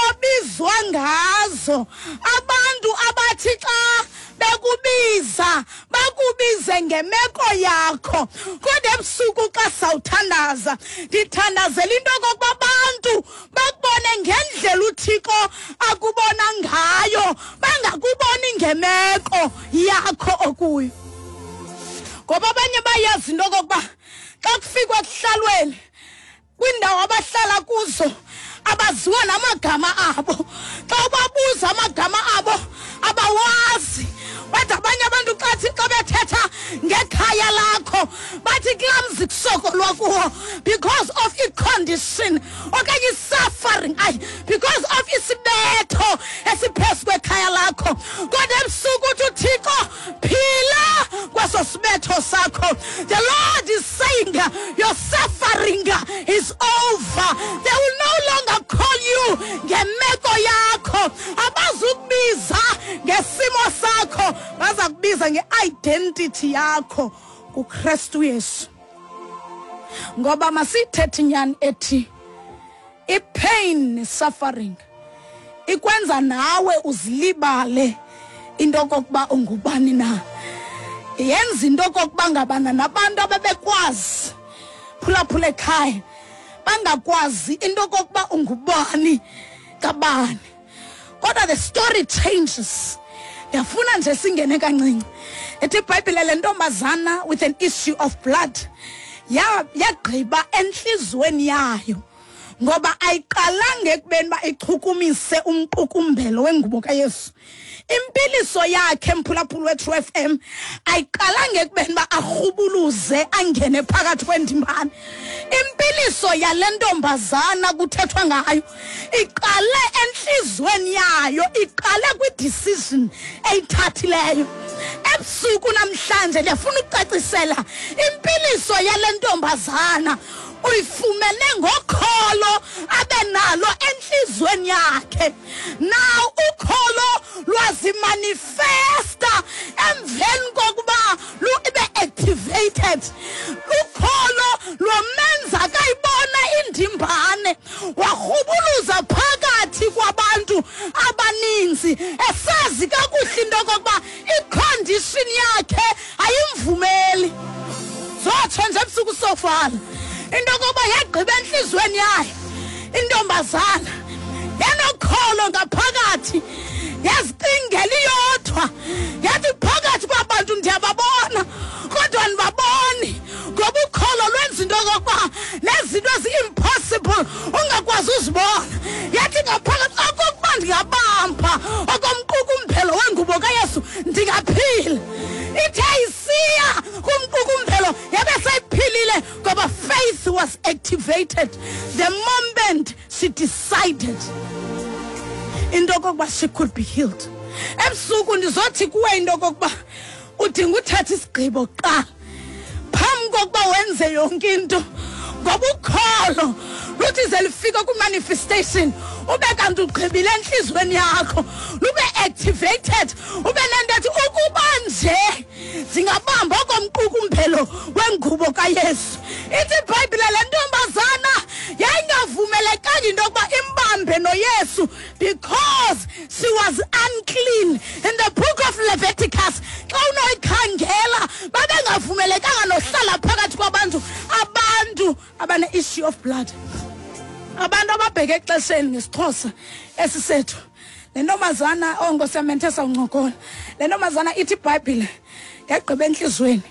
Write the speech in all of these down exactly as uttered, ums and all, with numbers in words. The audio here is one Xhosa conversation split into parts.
obizwa ngazo, abantu abathi xa bekubiza bakubize ngemeko yakho. Kodwa ebusuku xa sawuthandaza, ndithandazela into okokuba abantu bakubone ngendlela uThixo akubona ngayo, bangakuboni ngemeko yakho okuyo. Ngoba abanye bayazi into okokuba xa kufikwa ekuhlalweni kwindawo abahlala kuzo abaziwa namagama abo. Xa ubabuza amagama abo abawazi. Bathi abanye abantu xa xa bethetha ngekhaya lakho bathi kulaa mzi kusokolwa kuwo because of i-condition okanye i-suffering, ayi, because of isibetho esiphezu kwekhaya lakho. Kodwa ebusuku uthi uThixo, phila kweso sibetho sakho. The Lord is saying your suffering is over. They will no longer call you ngemeko yakho. Abazukubiza ngesimo sakho, baza kubiza nge-identity yakho kuKristu Yesu. Ngoba masithethe inyani ethi i-pain ne-suffering ikwenza nawe uzilibale into okokuba ungubani na. Yenza into okokuba ngabana nabantu abebekwazi phulaphula ekhaya bangakwazi into okokuba ungubani kabani. Kodwa the story changes. Ndiyafuna nje singene kancinci. Ethi iBhayibhile le ntombazana with an issue of blood yagqiba entliziyweni yayo, ngoba ayiqalanga ekubeni uba ichukumise umqukumbelo wengubo kaYesu. Impiliso yakhe, mphulaphula weTrue F M, ayiqalanga ekubeni uba arhubuluze angene phakathi kwendimbane. Impiliso yale ntombazana kuthethwa ngayo iqale entliziyweni yayo, iqale kwi-decision eyithathileyo. Ebusuku namhlanje ndiyafuna ukucacisela impiliso yale ntombazana uyifumene ngokholo abe nalo entliziyweni yakhe. Now ukholo lwazimanifesta emveni kokuba lube activated. Ukholo lwamenza kayibona indimbane, warhubuluza phakathi kwabantu abaninzi esazi kakuhle into okokuba i-condition yakhe ayimvumeli. Zotsho nje ebusuku sofala into yokuba yagqiba entliziyweni yayo intombazana yanokholo ngaphakathi, yazicingela iyodwa, yathi phakathi kwabantu ndiyababona kodwa andibaboni, ngoba ukholo lwenza into yokokuba nezinto ezi-impossible ungakwazi uzibona. Yathi ngaphakathi okokuba ndingabamba okomqukumbelo wengubo kaYesu ndingaphila. Ithe isiya kumqukumbelo yabe seyiphilile, ngoba faith was activated the moment she decided into okokuba she could be healed. Ebusuku ndizothi kuwe into okokuba udinga uthatha isigqibo kuqala phambi kokuba wenze yonke into, ngoba ukholo luthi ze lifike kwi-manifestation ube kanti ugqibile entliziyweni yakho, lube activated, ube nento ethi ukuba nje ndingabamba okomqukumbelo wengubo kaYesu. Ithi iBhayibhile le ntombazana yayingavumelekanga into yokuba imbambe noYesu because she was unclean. In the book of Leviticus, xa unoyikhangela, babengavumelekanga nohlala phakathi kwabantu abantu abane-issue of blood, abantu ababheke exesheni ngesiXhosa esisethu. Le ntombazana, oh Nkosi yam, bendithe sawuncokola. Le ntombazana ithi iBhayibhile yagqiba entliziyweni.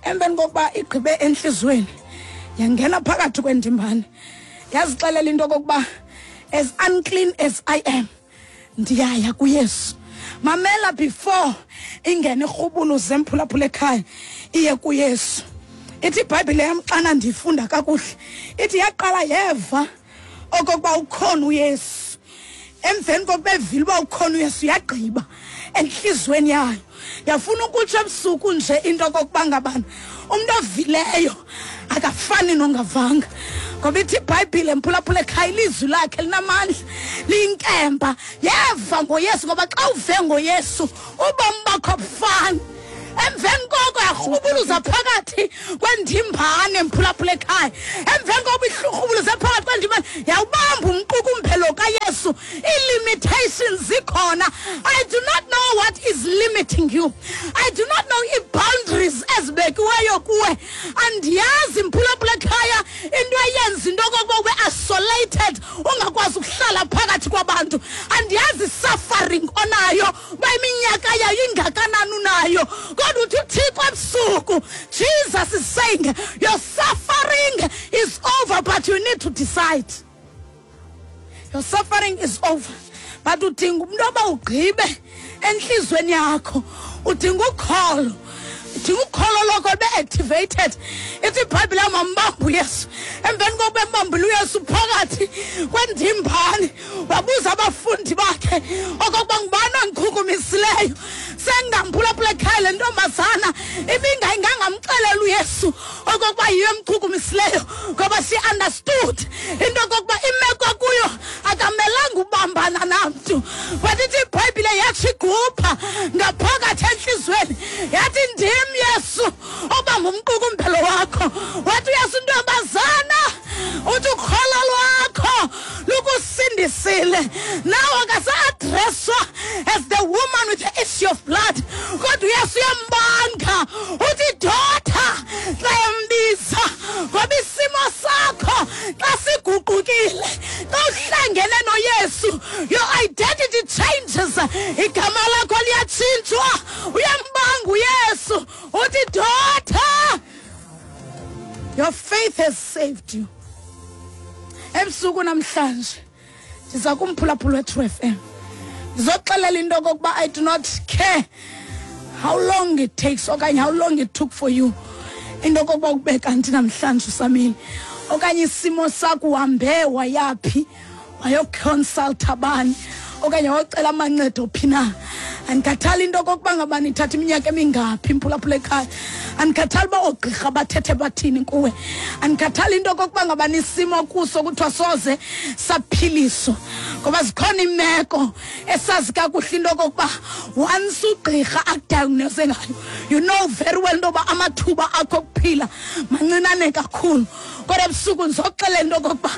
Emveni kokuba igqibe entliziyweni yangena phakathi kwendimbane, yazixelela into okokuba as unclean as I am, ndiyaya kuYesu. Mamela, before ingene irhubuluze emphulaphula ekhaya iye kuYesu, ithi iBhayibhile yam xana ndiyifunda kakuhle, ithi yaqala yeva okokuba ukhona uYesu. Emveni kokuba evile uba ukhona uYesu, yagqiba entliziyweni yayo. Yafuna ukutsho ebusuku nje into okokuba ngabana umntu ovileyo akafani nongavanga, ngoba ithi iBhayibhile mphulaphula ekhaya ilizwi lakhe linamandla, liyinkemba. Yeva ngoYesu, ngoba xa uve ngoYesu ubomi bakho abufani. Emveni koko yarhubuluza phakathi kwendimbane mphulaphula ekhaya. Emveni kokuba irhubuluze phakathi kwendimbane yawubamba umqukumbelo kaYesu. uYesu ii-limitations zikhona. I do not know what is limiting you. I do not know ii-boundaries ezibekiweyo kuwe. Andiyazi mphulaphula ekhaya into eyenza into okokuba ube isolated, ungakwazi ukuhlala phakathi kwabantu. Andiyazi suffering onayo, uba iminyaka yayo ingakanani unayo, kodwa uthi uThixo ebusuku, Jesus is saying your suffering is over, but you need to decide. Your suffering is over, but udinga umntu oba ugqibe entliziyweni yakho. Udinga ukholo, udinga ukholo lokho lube activated. Ithi iBhayibhile yamambamba uYesu. Emveni kokuba embambile uYesu phakathi kwendimbane, wabuza abafundi bakhe okokuba ngubani ondichukumisileyo. Sengamphulaphula ekhaya le ntombazana ibingayingangamxelela uYesu okokuba yiyo emchukumisileyo, ngoba she understood into okokuba imeko kuyo akamelanga ubambana namntu. But ithi iBhayibhile yatsho igupha ngaphakathi entliziyweni, yathi ndim Yesu obamba umqukumbelo wakho. Wathi uYesu, ntombazana, uthi ukholo lwakho lukusindisile. Nawe akasa-addresswa as the woman with the issue of blood, kodwa uYesu uyambanga, uthi daughter xa embiza, ngoba isimo sakho xa siguqukile, xa uhlangene noYesu, your identity changes, igama lakho liyatshintshwa. Uyambanga uYesu, uthi daughter, your faith has saved you. Ebusuku namhlanje ndiza kumphulaphula we-True F M, ndizoxelela into okokuba I do not care how long it takes okanye how long it took for you into okokuba ube kanti namhlanje usamile, okanye isimo sakho uhambe wayaphi, wayoconsulta bani, okanye wayocela amancedo phi na. Andikhathali into okokuba ngabani ithatha iminyaka emingaphi mphulaphula ekhaya. Andikhathali uba oogqirha bathethe bathini kuwe. Andikhathali into okokuba ngabani isimo kuso kuthiwa soze saphiliswa, ngoba zikhona iimeko esazi kakuhle into okokuba once ugqirha akudiagnose ngayo, you know very well into yoba amathuba akho okuphila mancinane kakhulu. Kodwa ebusuku ndizoxelela into okokuba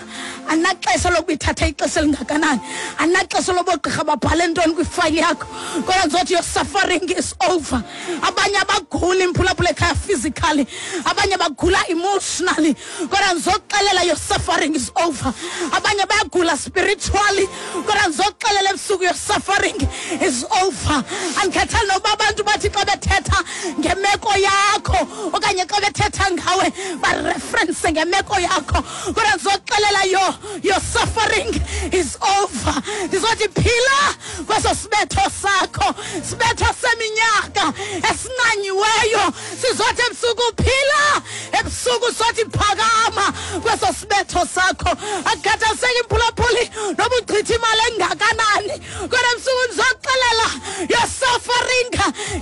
andinaxesha lokuba ithathe ixesha elingakanani, andinaxesha loba oogqirha babhale ntoni kwifayili yakho, kodwa ndizothi your suffering is over. Abanye abagula imphulaphula ekhaya physically, abanye bagula emotionally, kodwa ndizoxelela your suffering is over. Abanye bayagula spiritually, kodwa ndizoxelela ebusuku your suffering is over. Andikhathali noba abantu bathi xa bethetha ngemeko yakho okanye xa bethetha ngawe bareference ngemeko yakho, kodwa ndizoxelela yo your suffering is over. Ndizothi phila kweso sibetho sakho, sibetho seminyaka esincanyiweyo. Sizothi ebusuku phila, ebusuku sothi phakama kweso sibetho sakho. Akukhathaliseki imphulaphuli noba uchitha imali engakanani, kodwa ebusuku ndizoxelela your suffering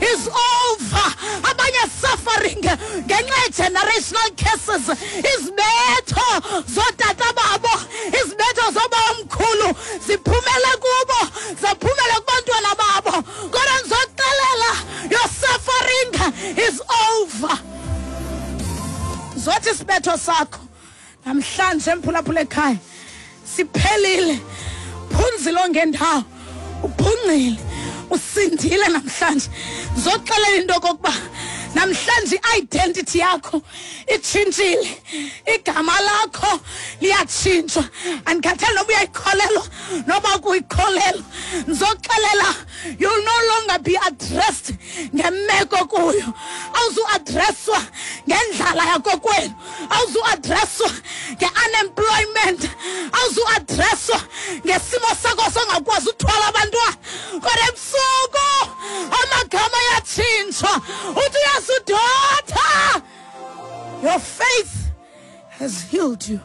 is over. Abanye suffering ngenxa ye-generational curses, izibetho zootata babo, izibetho zobawomkhulu ziphumele kubo, zaphumele kubantwana babo, kodwa ndizoxelela your suffering is over. Zothi isibetho sakho namhlanje mphulaphula ekhaya siphelile. Phunzile ongendawo, uphungcile, usindile namhlanje. Zoxelela into okokuba namhlanje i-identity yakho itshintshile, igama lakho liyatshintshwa. Andikhathali noba uyayikholelwa noba ukuyikholelwa, ndizoxelela you'll no longer be addressed ngemeko kuyo. Awuzuaddresswa ngendlala yakokwenu, awuzuaddresswa nge-unemployment, awuzuaddresswa ngesimo sakho songakwazi uthwala abantwana. Kodwa ebusuku amagama ayatshintshwa. Uthi uYesu, daughter, your faith has healed you.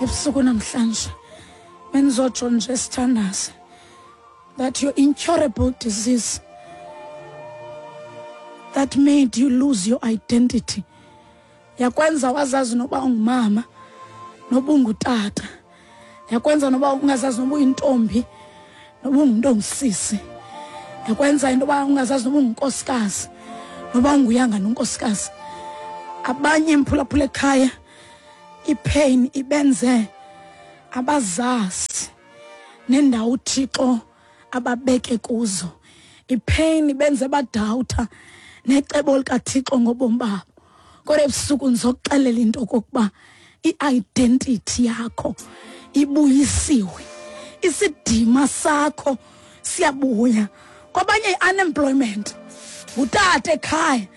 Ebusuku namhlanje bendizotsho nje sithandaze that your incurable disease that made you lose your identity, yakwenza wazazi noba ungumama noba ungutata, yakwenza noba ungazazi noba uyintombi noba ungumntu ongusisi, yakwenza into yoba ungazazi noba ungunkosikazi noba unguyanga nonkosikazi. Abanye mphulaphula ekhaya ipain ibenze abazazi. nendawo uThixo ababeke kuzo. Ipain benze badawutha necebo likaThixo ngobomi babo. Kodwa ebusuku ndizokuxelela into okokuba i-identity yakho ibuyisiwe, isidima sakho siyabuya. Kwabanye i-unemployment, ngutata ekhaya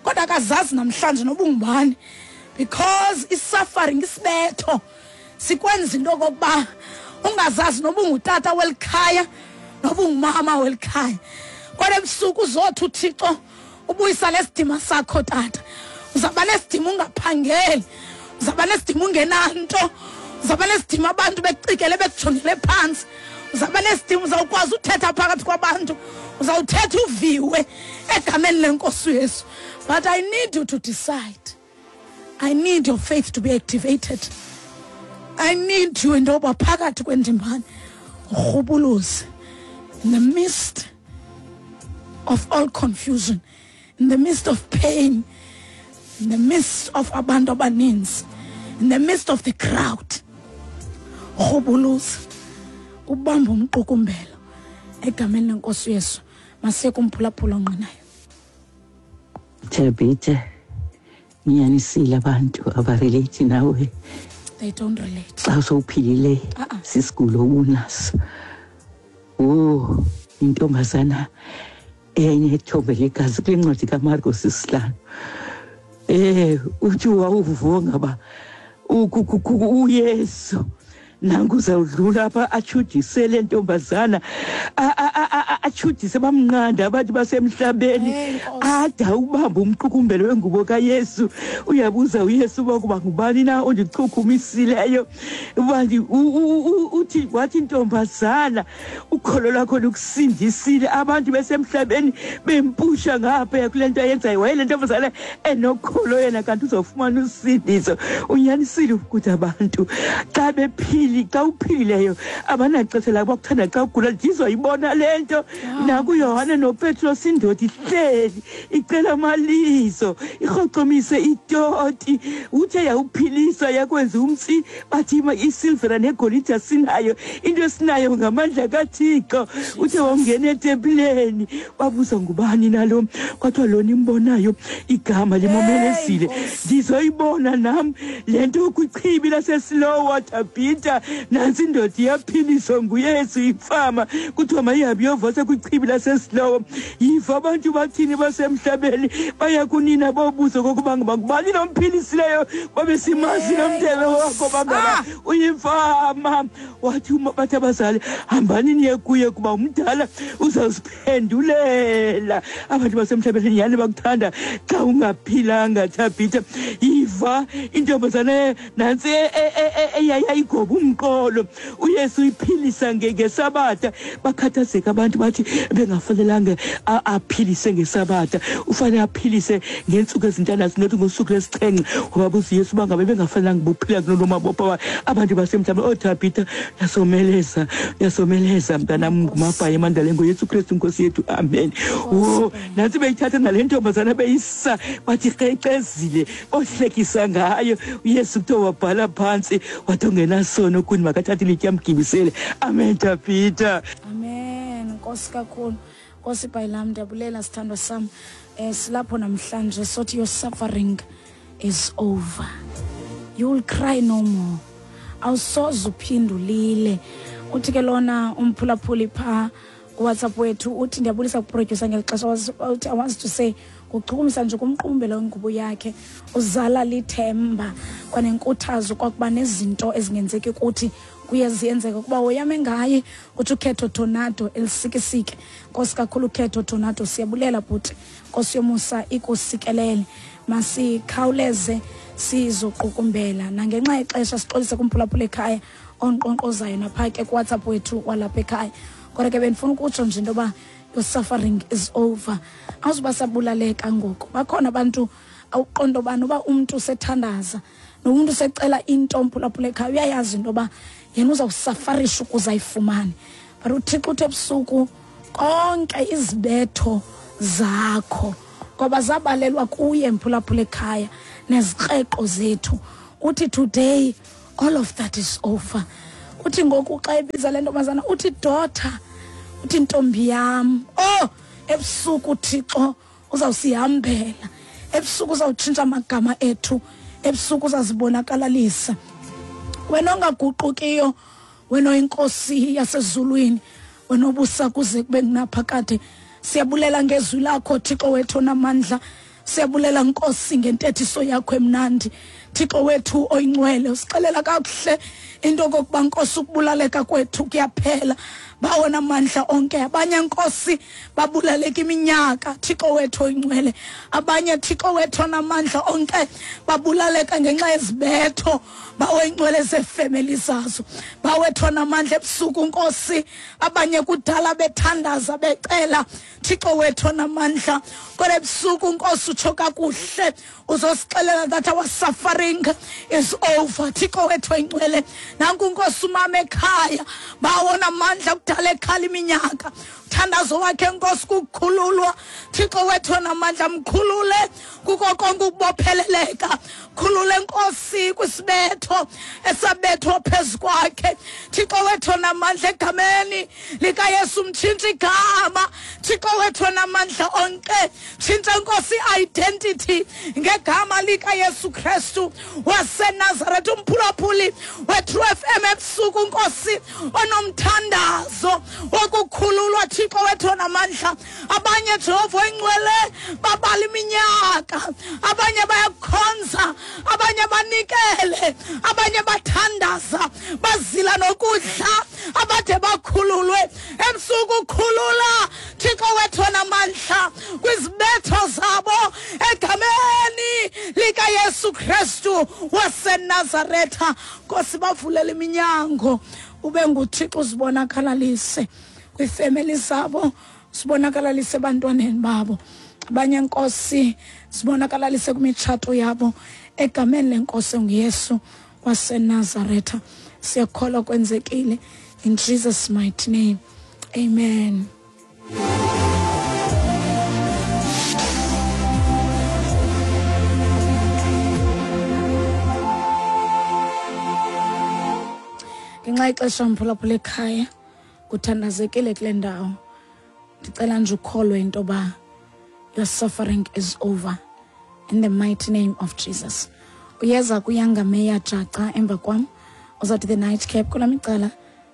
kodwa akazazi namhlanje noba ungubani, because i-suffering, isibetho sikwenza into okokuba ungazazi noba ungutata welikhaya noba ungumama welikhaya. Kodwa ebusuku uzothi uThixo ubuyisa lesidima sakho tata. Uzawuba nesidima ungaphangeli, uzawuba nesidima ungenanto, uzawuba nesidima abantu bekucikele bekujongele phantsi, uzawuba nesidima uzawukwazi uthetha phakathi kwabantu, uzawuthetha uviwe egameni lenkosi uYesu. But I need you to decide. I need your faith to be activated. I need you into yoba phakathi kwendimbane urhubuluze in the midst of all confusion, in the midst of pain, in the midst of abantu abaninzi, in the midst of the crowd. Urhubuluze, ubambe umqukumbelo egameni lenkosi uYesu. Masiye kumphulaphula ongqinayo. Thabitha, ngiyanisile abantu abarelate nawe. They don't relate. Xa sowuphilile sisigulo obunaso. Oh, intombazana eyayinethombe legazi kule ncwadi kaMarcos isihlanu. Eh, uthi wawuvuka ngaba uYesu nangu uzawudlula apha atshudise le ntombazana, atshudise bamnqanda abantu basemhlabeni, ada ubamba umqukumbelo wengubo kaYesu. Uyabuza uYesu uba kuba ngubani na ondichukumisileyo. Uthi wathi intombazana ukholo lwakho lukusindisile. Abantu besemhlabeni bempusha ngaphaya kule nto ayenzayo. Waye le ntombazana enokholo yena kanti uzawufumana usindiso. Unyanisile ukuthi abantu xa bephila, xa uphilileyo abanaxesha labo bakuthanda xa ugula. Ndizoyibona le nto nakuYohane noPetros, indoda ihleli icela amalizo, irhocomise itoti. Uthe yawuphilisa yakwenza umtsi, bathi isilvera negolide asinayo, into esinayo ngamandla kaThixo. Uthe wangena etempileni, wabuza ngubani nalo, kwathiwa lona imbonayo igama limomelezile. Ndizoyibona nam le nto kwichibi laseSilowa. Thabitha, nansi indoda iyaphiliswa nguYesu ifama, kuthiwa mayihambe iyovosa kwichibi laseSilowa. Yiva abantu bathini basemhlabeni, baya kunina bobuzo kokuba ngubani nomphilisileyo, babe simazi nomndebe wakho bangaba uyimfama. Wathi bathi abazali, hambani niye kuye kuba umdala uzawuziphendulela. Abantu basemhlabeni nyhani bakuthanda xa ungaphilanga. Thabitha, yiva intombazana nantsi eyayigoba umqolo, uYesu uyiphilisa ngesabatha. Bakhathazeka abantu bathi bengafanelanga aphilise ngesabatha, ufanele aphilise ngeentsuku ezintandathu nothi ngosuku lwesixhenxe. Wababuza uYesu uba ngabe bengafanelanga buphila kuloo mabopha abantu basemhlabeni. Oh Thabitha, yasomeleza, yasomeleza mntanam, ngumabhayi emandaleni ngoYesu Kristu Nkosi yethu, amen. Oh, nantsi beyithatha nale ntombazana beyisa, bathi krexezile, bohlekisa ngayo. uYesu kuthiwa wabhala phantsi wathi ongenasono kuni makathathe ilitye amgibisele. Amen Thabitha. Amen. Nkosi kakhulu. Nkosi Bhayilam, ndiyabulela sithandwa sam. Eh, silapho namhlanje sothi your suffering is over. You will cry no more. Awusoze uphinde ulile. Uthi ke lona umphulaphuli phaa kuWhatsApp wethu uthi ndiyabulisa kuproducer ngeli xesha. Uthi I want to say kuchukumisa nje kumqumbelo wengubo yakhe uzala lithemba kwanenkuthazo kwakuba nezinto ezingenzeki kuthi kuye ziyenzeka kuba woyame ngaye. Uthi ukhetho tornado elisikisike. Nkosi kakhulu ukhetho tornado, siyabulela bhuti. Nkosi yomusa ikusikelele. Masikhawuleze sizoqukumbela nangenxa yexesha sixolise kumphulaphula ekhaya onqonqozayo napha ke kuWhatsApp wethu walapha ekhaya. Kodwa ke bendifuna ukutsho nje into yoba your suffering is over. Awuzuba sabulaleka ngoku. Bakhona abantu awuqonda uba noba umntu usethandaza nomntu usecela into mphulaphula ekhaya, uyayazi into yoba yena uzawusafarisha ukuze ayifumane. But uThixo uthi ebusuku konke izibetho zakho ngoba zabalelwa kuye mphulaphula ekhaya nezikreqo zethu. Uthi today all of that is over. Uthi ngoku xa ebiza le ntombazana uthi daughter, uthi ntombi yam. Oh, ebusuku Thixo uzawusihambela, ebusuku uzawutshintsha amagama ethu, ebusuku uzazibonakalalisa. Wena ongaguqukiyo, wena oyinkosi yasezulwini, wena obusa kuze kube ngunaphakade, siyabulela ngezwi lakho Thixo wethu onamandla. Siyabulela Nkosi ngentethiso yakho emnandi. Thixo wethu oyingcwele, usixelela kakuhle into okokuba Nkosi ukubulaleka kwethu kuyaphela. Bawona amandla onke. Abanye Nkosi babulaleka iminyaka, Thixo wethu oyingcwele. Abanye Thixo wethu onamandla onke babulaleka ngenxa yezibetho bawoyingcwele zefemeli zazo. Bawethu onamandla ebusuku Nkosi, abanye kudala bethandaza becela, Thixo wethu onamandla. Kodwa ebusuku Nkosi utsho kakuhle, uzosixelela that our suffering is over. Thixo wethu oyingcwele, nanku Nkosi umama ekhaya, bawona amandla kudala ekhala iminyaka. Thandazo wakhe Nkosi kukhululwa. Thixo wethu onamandla, mkhulule kuko konke ukubopheleleka. Khulule Nkosi kwisibetho esabethwa phezu kwakhe. Thixo wethu onamandla, egameni likaYesu mtshintshe igama. Thixo wethu onamandla onke, tshintsha Nkosi identity ngegama likaYesu Kristu waseNazaretha. Umphulaphuli weTrue F M ebusuku Nkosi onomthandazo wokukhululwa, Thixo wethu onamandla. Abanye Jehova oyingcwele babala iminyaka, abanye bayakhonza, abanye banikele, abanye bathandaza, bazila nokudla, abade bakhululwe. Ebusuku khulula Thixo wethu onamandla kwizibetho zabo egameni likaYesu Kristu waseNazaretha. Nkosi bavulela iminyango, ube nguThixo uzibonakalalise kwifemeli zabo, sibonakalalise ebantwaneni babo. Abanye Nkosi sibonakalalise kwimitshato yabo egameni lenkosi nguYesu waseNazaretha. Siyakholwa kwenzekile, in Jesus mighty name, amen. Ngenxa ixesha mphulaphula ekhaya, kuthandazekile kule ndawo. Ndicela nje ukholwe into yoba your suffering is over in the mighty name of Jesus. Uyeza kuyangameya jaca emva kwam, uzawuthi the night cap kulam icala.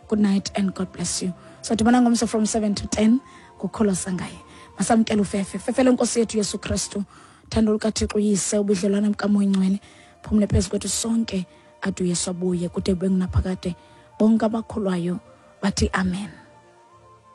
Good night and God bless you. So dibana ngomso from seven to ten kukholwa sangaye. Masamkele ufefe. Fefe lenkosi yethu Yesu Kristu, thando lukaThixo uyise, ubudlelwane bukaMoya Oyingcwele, phumle phezu kwethu sonke ade uYesu abuye kude kube ngunaphakade. Bonke abakholwayo bathi amen.